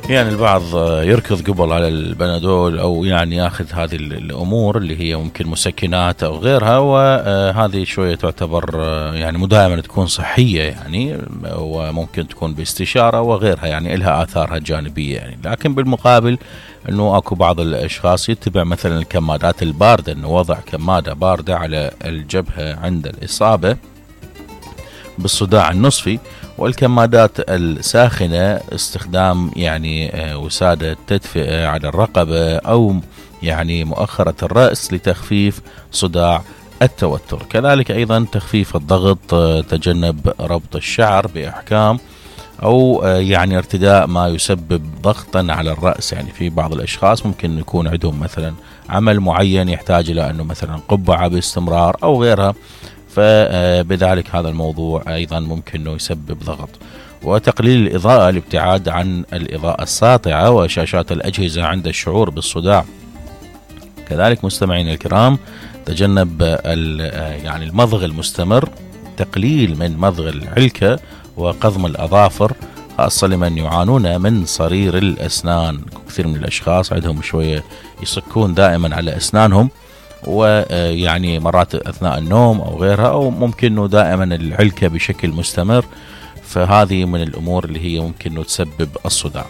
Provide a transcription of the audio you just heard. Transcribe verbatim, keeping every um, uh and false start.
يعني البعض يركض قبل على البنادول أو يعني ياخذ هذه الأمور اللي هي ممكن مسكنات أو غيرها، وهذه شوية تعتبر يعني مو دائما تكون صحية يعني، وممكن تكون باستشارة وغيرها يعني إلها آثارها الجانبية يعني. لكن بالمقابل أنه أكو بعض الأشخاص يتبع مثلا الكمادات الباردة، أنه وضع كمادة باردة على الجبهة عند الإصابة بالصداع النصفي، والكمادات الساخنة استخدام يعني وسادة تدفئة على الرقبة أو يعني مؤخرة الرأس لتخفيف صداع التوتر. كذلك أيضا تخفيف الضغط، تجنب ربط الشعر بإحكام أو يعني ارتداء ما يسبب ضغطا على الرأس. يعني في بعض الأشخاص ممكن يكون عندهم مثلا عمل معين يحتاج إلى أنه مثلا قبعة باستمرار أو غيرها، فبذلك هذا الموضوع أيضا ممكن أنه يسبب ضغط. وتقليل الإضاءة، الابتعاد عن الإضاءة الساطعة وشاشات الأجهزة عند الشعور بالصداع. كذلك مستمعين الكرام، تجنب يعني المضغ المستمر، تقليل من مضغ العلكة وقضم الأظافر، خاصة لمن يعانون من صرير الأسنان. كثير من الأشخاص عندهم شوية يصكون دائما على أسنانهم، ويعني مرات أثناء النوم أو غيرها، أو ممكن أنه دائما العلكة بشكل مستمر، فهذه من الأمور اللي هي ممكن أنه تسبب الصداع.